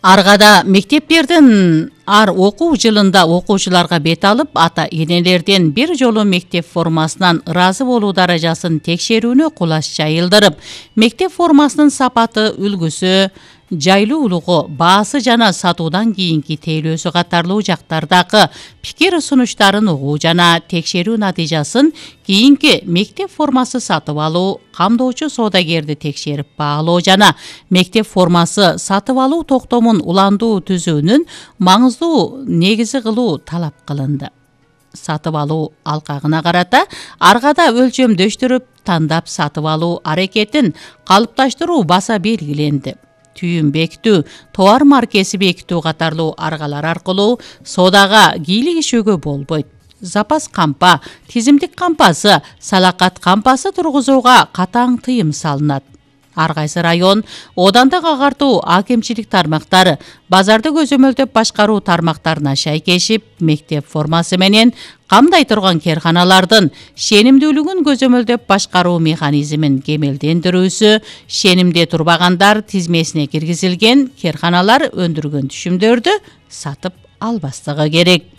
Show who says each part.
Speaker 1: Аргада мектептердин ар окуу жылында окуучуларга бет алып, ата-энелерден бир жолу мектеп формасынан ыраазы болуу даражасын текшерүүнү кулаш жайылдырып, мектеп формасынын сапаты, үлгүсү, жайлуулугу, баасы жана сатуудан кийинки тейлөөсү катарлуу жактардагы пикир сунуштарын угуу жана текшерүү натыйжасын кийинки мектеп формасы сатып алуу, камдоочу соодагерди текшерип баалоо жана мектеп формасы сатып алуу токтомун уландуу түзүүнүн маңыздуу негизи кылуу талап кылынды. Сатып алуу алкагына карата аргада өлчөмдөштүрүп тандап сатып алуу аракетин калыпташтыруу баса белгиленди. Түйүн бекитүү, товар маркеси бекитүү катарлуу аргалар аркылуу соодага кийлигишүүгө болбойт. Запас кампа, тизимдик кампасы, салакат кампасы тургузууга катаң тыйым салынат. Ар кайсы район, оодандык агартуу акимчилик тармактары базарды көзөмөлдөп башкаруу тармактарына шайкешип, мектеп формасы менен камдай турган керканалардын шенимдүүлүгүн көзөмөлдөп башкаруу механизмин кемелдендирүүсү, шенимде турбагандар тизмесине киргизилген керканалар өндүргөн түшүмдөрдү сатып албастыгы керек.